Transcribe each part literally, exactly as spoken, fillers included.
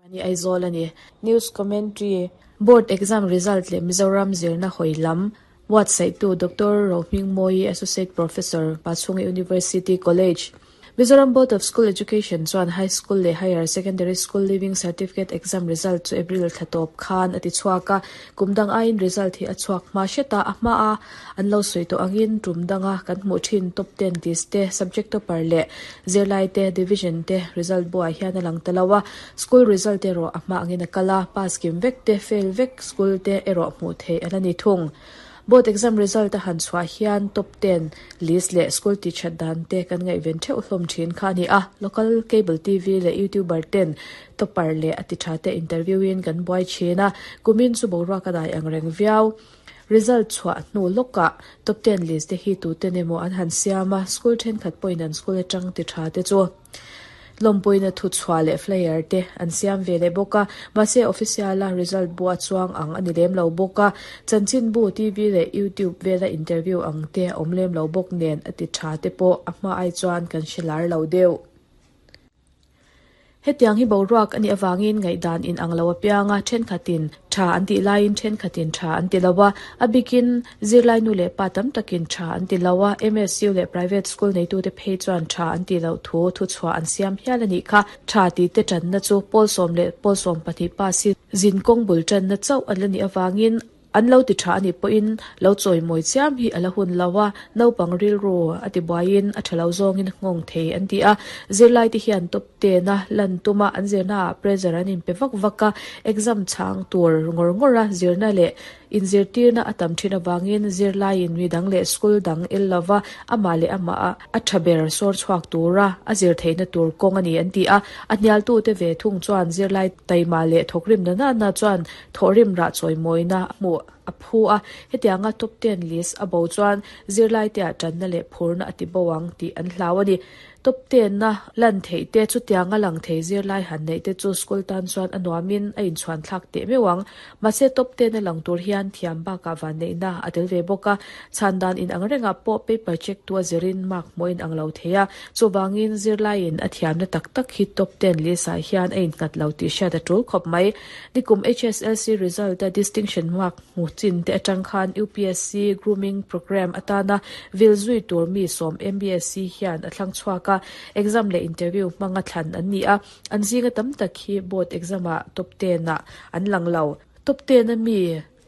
Ani Aizawl ani. News commentary board exam result le Mizoram zirna hoilam website tu Doctor Rohming Moi, Associate Professor, Pachhunga University College. Mizoram Board of School Education chuan High School le Higher Secondary School Leaving Certificate exam result chu April thlatawp khan ati chhuak a. Kumdang aiin result hi a chhuak hma hreta a hma a an lo sawi tawh angin tum danga kan hmuh thin top ten list te, subject topper leh zirlai te division te result buah hian a lang ta lo a. School result erawh a hma angin a kal a, pass kim vek te, fail vek school te erawh hmuh theih a la ni thung. Board exam result a han chhuah hian top ten list leh school teacher dan te kan ngaihven theuh hlawm thin kha ani a. Local cable T V leh YouTuber ten topper leh a ti tha te interview in kan buai thin a. Kumin chu boruak a dai ang reng viau. Result chhuah hnu lawkah top ten list te hi tu te emaw an han siam a, school thenkhat pawhin an school atang ti tha te chu lawmpuina thu chhuah leh flyer te an siam ve leh bawk a. Mahse official a result bua chuang ang ani lem lo bawk a, chanchin bu, T V leh YouTube vela interview ang te awm lem lo bawk nen a ti tha te pawh a hma ai chuan kan hrelar lo deuh. Hetiang hi boruak ani awangin ngaihdan in ang lo apianga thenkhatin tha an ti laiin thenkhatin tha an ti lowa. A bikin zirlai nu leh pa tam takin tha an ti lowa. M S U leh private school nei tu te phei chuan tha an ti lo thu thu chhuah an siam hial ani kha. Tha ti te tan na chu pawl sawm leh pawl sawm pahnih pa si zin kawng bul tan na chauh an la ni awangin an lo ti tha ani pawhin lo chawi mawi chiam hi ala hun lowa. Naupang rilru ati buaiin a thalo zawngin nghawng thei an ti a. Zirlai te hian top ten a lan tuma an zirna ah pressure an in pe vak vak a, exam chang tur ngawr ngawr a zirna leh inzirtirna a tam thin awangin zirlaiin mi dang leh school dang el lova ama leh ama a a tha ber sawr chhuak tura a zir theihna tur kawng ani an ti a. A hnial tu te ve thung chuan zirlai taima leh thawkrim na na na chuan thawhrim rah chawi mawina hmuh a phu a. Hetianga top ten list a bo chuan zirlai te ah tanna leh phurna ati bo ang tih an hlau ani. Top ten na lan thei te chu tianga lang thei zirlai han nei te chu school tan chuan a nuamin a inchhuan thlak teh meuh ang. Mahse top ten a lang tur hian thiam bakah van neihna a tel ve bawk a. Chhan dan in ang rengah pawh paper check tu a zirin mark hmuhin ang lo thei a, chuwangin zirlaiin a thiamna tak tak hi top ten list ah hian a innghat lo tih hriat a tul khawp mai. Nikum H S L C result a distinction mark hmu chin te atang khan U P S C grooming program atana vil zui tur mi sawm M B S C hian a thlang chhuak a. Exam leh interview hmanga thlan an ni a, an zinga tam tak hi board exam ah top ten ah an lang lo. Top ten a mi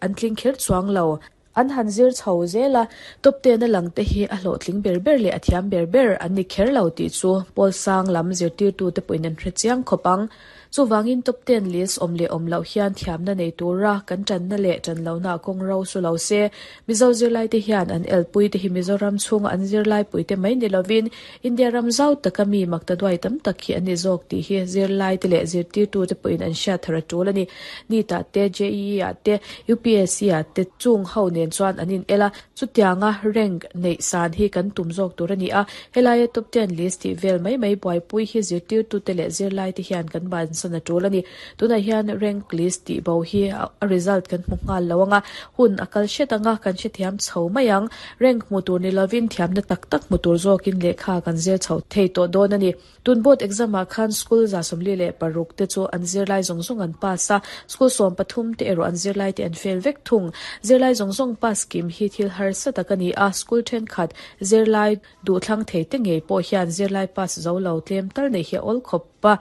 an tling kher chuang lo, an han zir chho zela. Top ten a lang te hi a hlawh tling ber ber leh a thiam ber ber an ni kher lo tih chu pawl sang lam zirtir tu te pawhin an hre chiang khawp ang. Chuwangin top ten list awm leh awm loh hian thiamna nei tura kan tanna leh tan lo na kawng ro su lo se. Mizo zirlai te hian an elpui te hi Mizoram chhunga an zirlai pui te mai ni lovin India ram zau taka mi makta duai tam tak hi ani zawk tih hi zirlai te leh zirtir tu te pawhin an hriat thar a tul ani. N E E T ah te, J E E ah te, U P S C ah te chung ho nen chuan an in ela chutianga rank nei san hi kan tum zawk tur ani a. Helaia top ten list tih vel mai mai buaipui hi zirtir tu te leh zirlai te hian kan ban san a tul ani. Tunah hian rank list tih bo hi a result kan hmu nghal lo anga, hun a kal hret anga kan hrethiam chho mai ang. Rank hmu tur ni lovin thiamna tak tak hmu tur zawkin lehkha kan zir chho thei tawh dawn ani. Tun board exam ah khan school za sawmli leh paruk te chu an zirlai zawng zawng an pass a, school sawm pathum te erawh an zirlai te an fail vek thung. Zirlai zawng zawng pass kim hi thil harsa tak ani a, school thenkhat zirlai duh thlang thei te ngei pawh hian zirlai pass zo lo tlem tal nei hi a awl khawp pa.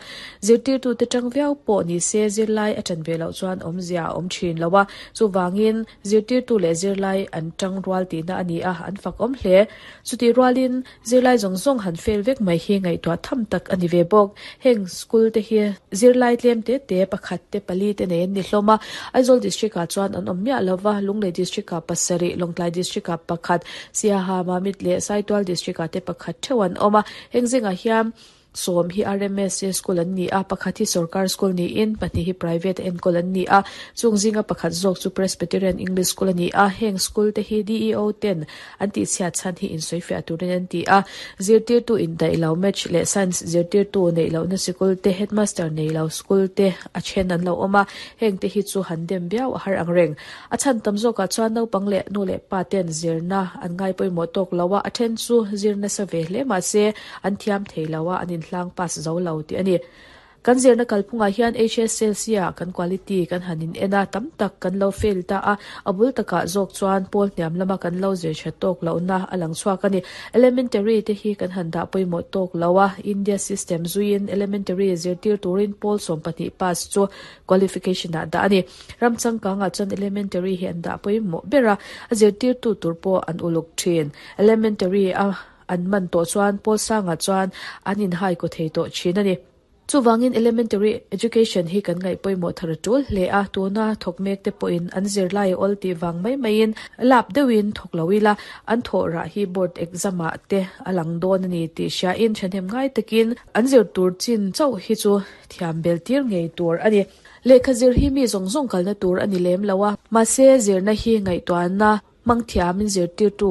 Zirtir tu te tang viau pawh ni se zirlai a tan ve loh chuan awmzia a awm thin lo a, chuwangin zirtir tu leh zirlai an tang rual tihna ani a, an fak awm hle. Chuti rualin zirlai zawng zawng han fail vek mai hi ngaihtuah tham tak ani ve bawk. Heng school te hi zirlai tlem te te pakhat te pali te nei an ni hlawm a. Aizawl district ah chuan an awm miah lova, Lunglei district ah pasarih, Lawngtlai district ah pakhat, Siaha, Mamit leh Saitual district ah te pakhat theuh an awm a. Heng zingah hian sawm hi R M S A school an ni a, pakhat hi sarkar school niin pahnih hi private enkawl an ni a, chung zinga pakhat zawk chu Presbyterian English School ani a. Heng school te hi D E O ten an tih chhiat chhan hi insawi fiah turin an ti a. Zirtir tu in daih lo match leh science zirtir tu nei lo na sikul te, headmaster nei lo school te a then an lo awm a. Heng te hi chu han dem viau a har ang reng. A chhan tam zawkah chuan naupang leh nu leh pa ten zirna an ngai pawimawh tawk lo a, a then chu zirna sa ve hle mahse an thiam thei lo a, an in hlang pass zo lo tih ani. Kan zirna kalphungah hian H S L C ah kan quality kan hanin en a, tam tak kan lo fail ta a, a bul takah zawk chuan pawl hniam lama kan lo zir tha tawk lohna a lang chhuak a ni. Elementary te hi kan han dah pawimawh tawk lo a, India system zuiin elementary zirtir turin pawl sawm pahnih pass chu qualification ah dah a ni. Ram changkangah chuan elementary hi an dah pawimawh ber a, a zirtirtu tur pawh an uluk thin. Elementary a an man tawh chuan pawl sangah chuan an inhai kaw thei tawh thin a ni. Chuwangin elementary education hi kan ngaih pawimawh thar a tul hle a, tuna thawk mek te pawhin an zirlai awl tih vang mai maiin lap deuhin thawk lo ila, an thawh rah hi board exam ah te a lang dawn a ni tih hriain thahnem ngai takin an zir tur chin chauh hi chu thiam bel tir ngei tur a ni. Lehkha zir hi mi zawng zawng kalna tur a ni lem lo a, mahse zirna hi ngaihtuahna hmang thiamin zirtirtu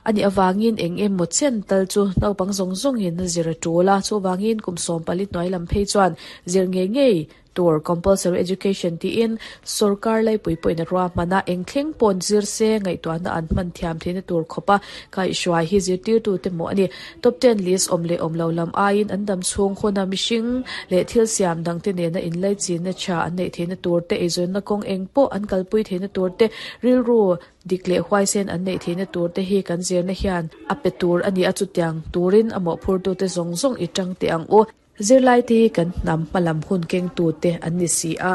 ani awangin eng emaw chen tal chu naupang zawng zawngin a zir a tul a, chuwangin kum sawm pali hnuai lam phei chuan zir ngei ngei tur compulsory education tiin sarkar laipui pawhin a ruahman a, eng thleng pawn zir se ngaihtuahna an hman thiam theihna tur khawpa kaihhruai hi zirtirtu te maw a ni. Top ten list awm leh awm lo lam aiin an dam chhung huna mihring leh thil siam dang te nena inlai chinna tha an neih theihna tur te, eizawnna kawng eng pawh an kalpui theihna tur te, rilru dik leh huaisen an neih theihna tur te hi kan zirna hian a pe tur a ni a, chutiang turin a mawhphurtu te zawng zawng i tang teh ang u. Zirlai te hi kan hnam hmalam hun kengtu te an ni si a.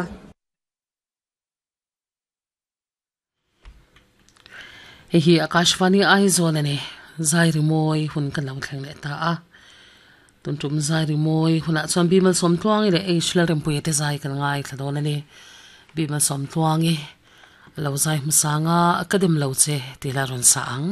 Hei hi Akashvani Aizawl a ni. Zai rimawi hun kan lo thleng leh ta a. Tun tum zai rimawi hunah chuan Bimal Sawmtluangi leh H Lalrempuia te zai kan ngaithla dawn a ni. Bimal Sawmtluangi a lo zai hmasanga ka dem lo che tih la rawn sa ang.